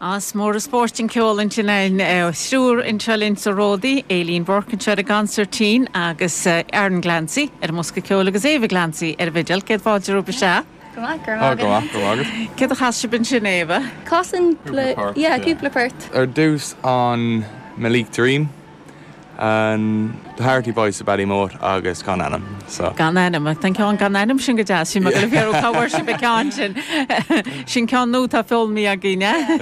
Is mór an spórt an ceol ansin againn. Triúr anseo linn sa Ródaí, Aileen Burke anseo ar an gconsairtín agus Aaron Glancy ar an mbosca ceoil agus Ava Glancy ar an bhfidil. Céad fáilte romhaibh isteach. Go maith, go raibh maith agat. Go maith, go raibh maith agat. Céard a chas sibh ansin, Ava? Casann cúpla, yeah, cúpla port. Ar dtús an Meelick Dream. An The Harty Boys of Ballymote agus Gan Ainm. So. Gan Ainm. Tá an ceann Gan Ainm sin go deas. Bhí mé ag dul a fiafraí cá bhfuair sibh an ceann sin. Sin ceann nua atá foghlamtha againn, eh?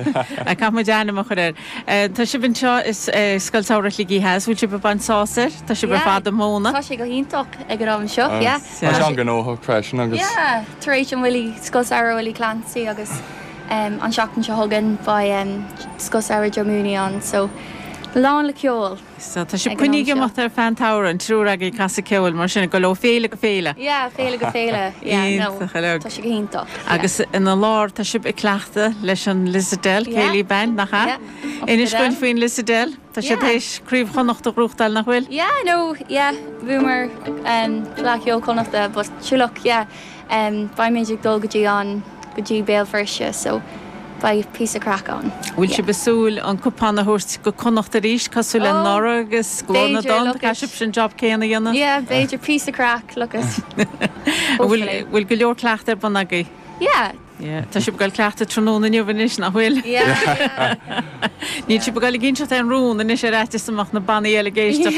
Caithfidh muid ainm a chur air. Tá sibh anseo i Scoil Samhraidh Shligigh Theas. Bhfuil sibh ag baint sásamh air? Tá sibh ar fad ag múineadh. Tá sé go hiontach ag an am seo, yeah. Tá sé an-ghnóthach freisin agus. Yeah, tar éis an Willie, Scoil Samhraidh Willie Clancy agus an seachtain seo chugainn beidh Scoil Samhraidh Joe Mooney ann so lán le ceol. So tá sibh coinnithe ag imeacht ar feadh an tsamhraidh, an triúr agaibh ag casadh ceoil mar sin, ag dul ó féile go féile. Yeah, féile go féile, yeah, no, Iontach uilig. tá sé go hiontach, yeah. Agus ina lár tá sibh ag cleachtadh leis an Lissadell Céilí Band, nach ea? Yeah, Inis dúinn faoin Lissadell, tá siad Yeah. théis Craobh Chonnacht a ghnóthachtáil, nach bhfuil? Yeah, no, yeah, bhuamar um, Fleadh Cheoil Chonnachta, but sure look, yeah, Beimid ag dul go dtí an, go dtí Béal Feirste so beidh píosa craic ann. Bhfuil sibh ag súil an cupán a thabhairt go Connacht arís cosúil le Oh, anuraidh agus Glór na b'fhéidir, dTonn? look Caithfidh it. sibh an job céanna a dhéanamh? Yeah, b'fhéidir píosa craic, look it. Bhfuil, Hopefully. bhfuil go leor cleachtaidh ar bun agaibh? Yeah. Yeah. Tá sibh ag dul cleachtadh tráthnóna inniu anois, nach bhfuil? Yeah, yeah. Níl sibh ag dul ag inseacht aon rún anois ar fhaitíos go mbeadh na bannaí eile ag éisteacht.